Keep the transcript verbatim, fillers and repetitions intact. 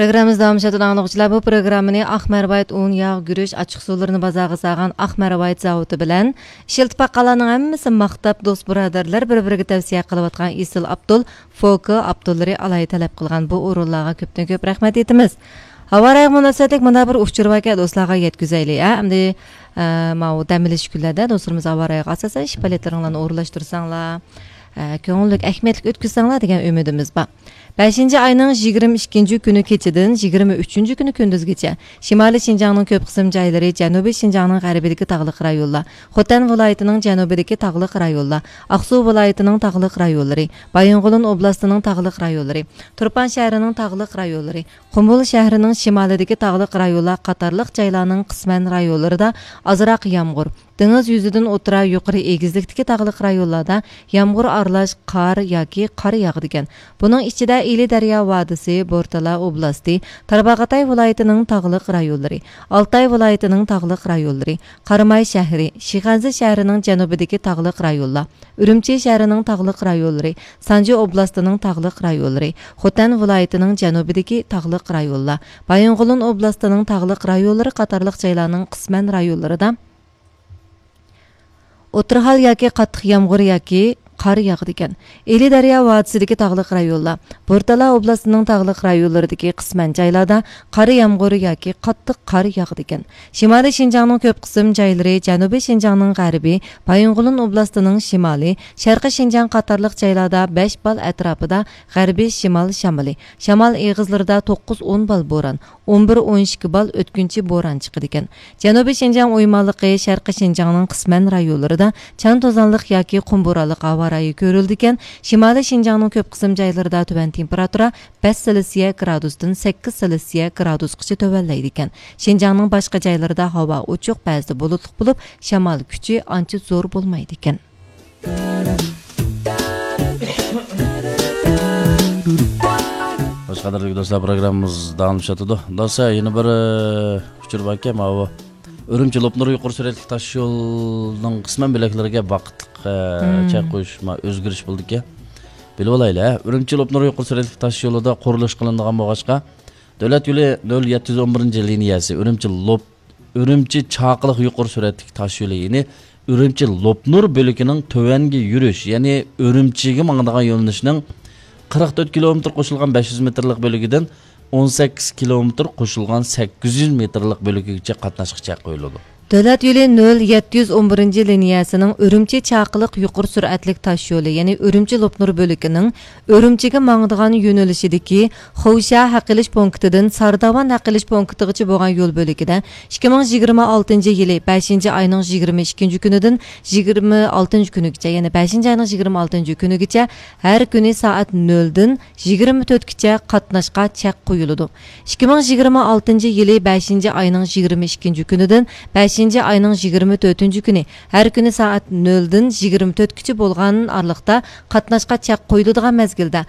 پروگراممىمىز داۋاملىشىۋاتىدۇ، ئاڭلىغۇچىلار. بۇ پروگراممىنى ئاق مەرۋايىت ئۇن، ياغ، گۈرۈچ، ئاچچىق سۇلىرىنى بازارغا سالغان ئاق مەرۋايىت زاۋۇتى بىلەن ئىشلىتىپ باققانلارنىڭ ھەممىسى ماختاپ، دوست بۇرادەرلەر بىر-بىرىگە تەۋسىيە قىلىۋاتقان ئېسىل ئابدۇل، فوكا ئابدۇللىرى ئالاھىدە تەلەپ قىلغان بۇ ئورۇنلارغا كۆپتىن كۆپ رەھمەت ئېيتىمىز. ھاۋا رايىغا مۇناسىۋەتلىك مۇنداق بىر ئۇچۇر باركەن، دوستلارغا يەتكۈزەيلى، ھە؟ ئەمدى، ئە، ماۋۇ دەم ئېلىش كۈنلەردە دوستلىرىمىز ھاۋا رايىغا ئاساسەن ئىش پائالىيەتلىرىڭلارنى ئورۇنلاشتۇرساڭلار، ئە، كۆڭۈللۈك، ئەھمىيەتلىك ئۆتكۈزسەڭلار دېگەن ئۈمىدىمىز بار. بەشىنچى ئاينىڭ يىگىرمە ئىككىنچى كۈنى كېچىدىن يىگىرمە ئۈچىنچى كۈنى كۈندۈزگىچە شىمالىي شىنجاڭنىڭ كۆپ قىسىم جايلىرى، جەنۇبىي شىنجاڭنىڭ غەربىدىكى تاغلىق رايونلار، خوتەن ۋىلايىتىنىڭ جەنۇبىدىكى تاغلىق رايونلار، ئاقسۇ ۋىلايىتىنىڭ تاغلىق رايونلىرى، بايىنغولىن ئوبلاستىنىڭ تاغلىق رايونلىرى، تۇرپان شەھىرىنىڭ تاغلىق رايونلىرى، قۇمۇل شەھىرىنىڭ شىمالىدىكى تاغلىق رايونلار قاتارلىق جايلارنىڭ قىسمەن رايونلىرىدا ئازراق يامغۇر، دېڭىز يۈزىدىن ئوتتۇرا يۇقىرى ئېگىزلىكتىكى تاغلىق رايونلاردا يامغۇر ئارىلاش قار ياكى قار ياغىدىكەن. بۇنىڭ ئىچىدە ئىلى دەريا ۋادىسى، بورتالا ئوبلاستى، تارباغاتاي ۋىلايىتىنىڭ تاغلىق رايونلىرى، ئالتاي ۋىلايىتىنىڭ تاغلىق رايونلىرى، قاراماي شەھىرى، شىخەنزە شەھىرىنىڭ جەنۇبىدىكى تاغلىق رايونلار، ئۈرۈمچى شەھىرىنىڭ تاغلىق رايونلىرى، سانجى ئوبلاستىنىڭ تاغلىق رايونلىرى، خوتەن ۋىلايىتىنىڭ جەنۇبىدىكى تاغلىق رايونلار، بايىنغولىن ئوبلاستىنىڭ تاغلىق رايونلىرى قاتارلىق جايلارنىڭ قىسمەن رايونلىرىدا ئوتتۇرا ھال ياكى قاتتىق يامغۇر ياكى قار ياغىدىكەن. ئىلى دەريا ۋادىسىدىكى تاغلىق رايونلار، بورتالا ئوبلاستىنىڭ تاغلىق رايونلىرىدىكى قىسمەن جايلاردا قارا يامغۇر ياكى قاتتىق قار ياغىدىكەن. شىمالىي شىنجاڭنىڭ كۆپ قىسىم جايلىرى، جەنۇبىي شىنجاڭنىڭ غەربى، بايىنغولىن ئوبلاستىنىڭ شىمالى، شەرقىي شىنجاڭ قاتارلىق جايلاردا بەش بال ئەتراپىدا غەربىي شىمال شامىلى، شامال ئېغىزلىرىدا توققۇز ئون بال بوران، ئون بىر ئون ئىككى بال ئۆتكۈنچى بوران چىقىدىكەن. جەنۇبىي شىنجاڭ ئويمانلىقى، شەرقىي شىنجاڭنىڭ قىسمەن رايونلىرىدا چاڭ توزانلىق ياكى قۇم بورانلىق ھاۋا رايى كۆرۈلىدىكەن. شىمالىي شىنجاڭنىڭ كۆپ قىسىم جايلىرىدا تۆۋەن تېمپېراتۇرا بەش سېلسىيە گرادۇستىن سەككىز سېلسىيە گرادۇسقىچە تۆۋەنلەيدىكەن. شىنجاڭنىڭ باشقا جايلىرىدا ھاۋا ئوچۇق، بەزىدە بۇلۇتلۇق بولۇپ، شامال كۈچى ئانچە زور بولمايدىكەن. خوش، قەدىرلىك دوستلار، پروگراممىمىز داۋاملىشىۋاتىدۇ. دوستلار، يەنە بىر، ئى، ئۇچۇر باركەن، ماۋۇ ئۈرۈمچى لوپنۇر يۇقىرى سۈرئەتلىك تاش يولىنىڭ قىسمەن بۆلەكلىرىگە ۋاقىتلىق، ئى، مم. چەك قويۇش، ما، ئۆزگىرىش بولدىكەن. بىلىۋالايلى، ھە؟ ئۈرۈمچى لوپنۇر يۇقىرى سۈرئەتلىك تاش يولىدا قۇرۇلۇش قىلىنىدىغان بولغاچقا، دۆلەت يولى نۆل يەتتە يۈز ئون بىرىنچى لىنىيەسى، ئۈرۈمچى لوپ ئۈرۈمچى چاقىلىق يۇقىرى سۈرئەتلىك تاش يولى، يەنى ئۈرۈمچى لوپنۇر بۆلىكىنىڭ تۆۋەنگە يۈرۈش، يەنى ئۈرۈمچىگە ماڭىدىغان يۆنىلىشنىڭ قىرىق تۆت كىلومېتىر قوشۇلغان بەش يۈز مېتىرلىق بۆلىكىدىن ئون سەككىز كىلومېتىر قوشۇلغان سەككىز يۈز مېتىرلىق بۆلىكىگىچە قاتناشقا چەك قويۇلىدۇ. دۆلەت يولى نۆل يەتتە يۈز ئون بىرىنچى لىنىيەسىنىڭ ئۈرۈمچى چاقىلىق يۇقىرى سۈرئەتلىك تاش يولى، يەنى ئۈرۈمچى لوپنۇر بۆلىكىنىڭ ئۈرۈمچىگە ماڭىدىغان يۆنىلىشىدىكى خوشا ھەق ئېلىش پونكىتىدىن سارداۋان ھەق ئېلىش پونكىتىغىچە بولغان يول بۆلىكىدە ئىككى مىڭ يىگىرمە ئالتىنچى يىلى بەشىنچى ئاينىڭ يىگىرمە ئىككىنچى كۈنىدىن يىگىرمە ئالتىنچى كۈنىگىچە، يەنى بەشىنچى ئاينىڭ يىگىرمە ئالتىنچى كۈنىگىچە ھەر كۈنى سائەت نۆلدىن يىگىرمە تۆتكىچە قاتناشقا چەك قويۇلىدۇ. ئىككى مىڭ يىگىرمە ئالتىنچى يىلى بەشىنچى ئاينىڭ يىگىرمە ئىككىنچى كۈنىدىن بەشىنچى ئاينىڭ يىگىرمە تۆتىنچى كۈنى ھەر كۈنى سائەت نۆلدىن يىگىرمە تۆتكىچە بولغان ئارىلىقتا قاتناشقا چەك قويۇلىدىغان مەزگىلدە